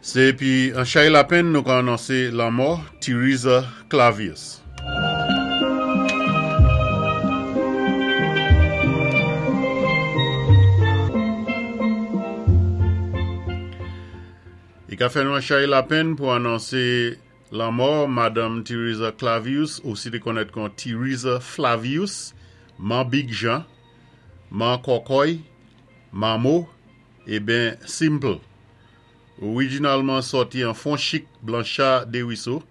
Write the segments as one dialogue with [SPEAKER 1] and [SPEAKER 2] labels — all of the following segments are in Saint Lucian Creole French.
[SPEAKER 1] Sé épi an chay lapenn nou ka anonsé lanmò Theresa Clavius. I ka fè nou an chay lapenn pou anonse lanmò Madanm Theresa Clavius, osi té konnèt kon Theresa Flavius, Man Big Jean, Man Kòkòy, Mamo, e Ben Simple. Orijinalman sòti an Fonchik Blancha Deriso,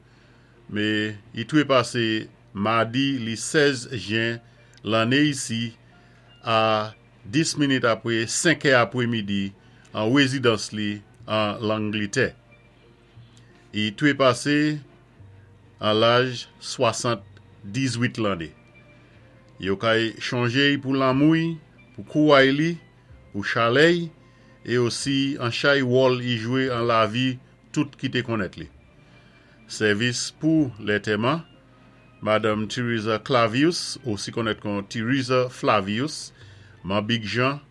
[SPEAKER 1] me i twépasé madi li 16 jen lanné isi a 10 minit apwé 5 è apwémidi an wézidans li an Langlitè. I twépasé an laj 78 lanné. Yo kay chonjé-y pou lanmou-y, pou kouway li, pou chalè-y é osi an chay wòl i jwé an lavi tout ki té konnèt li. Sèvis pou lètèman, Madanm Theresa Clavius, osi konnèt kon Theresa Flavius, Man Big Jean,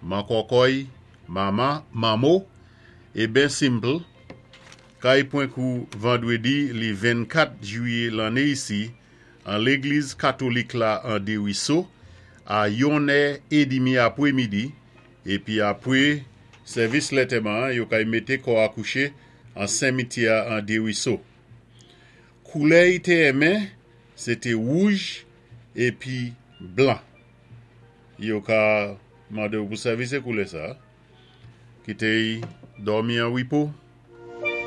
[SPEAKER 1] Man Kòkòy, Mama, Mamo, é Ben Simple, kay pwan kou vandwédi li 24 jwiyé lanné isi an légliz katolik la an Deriso a yon è édmi apwémidi épi apwé sèvis lètèman an yo kay mété kò a kouché an senmityè a an Deriso. Koulè i té enmen sé té wouj épi blan. Yo ka mandew pou sèvi sé koulè sa. Kité-y dòmi an wipo.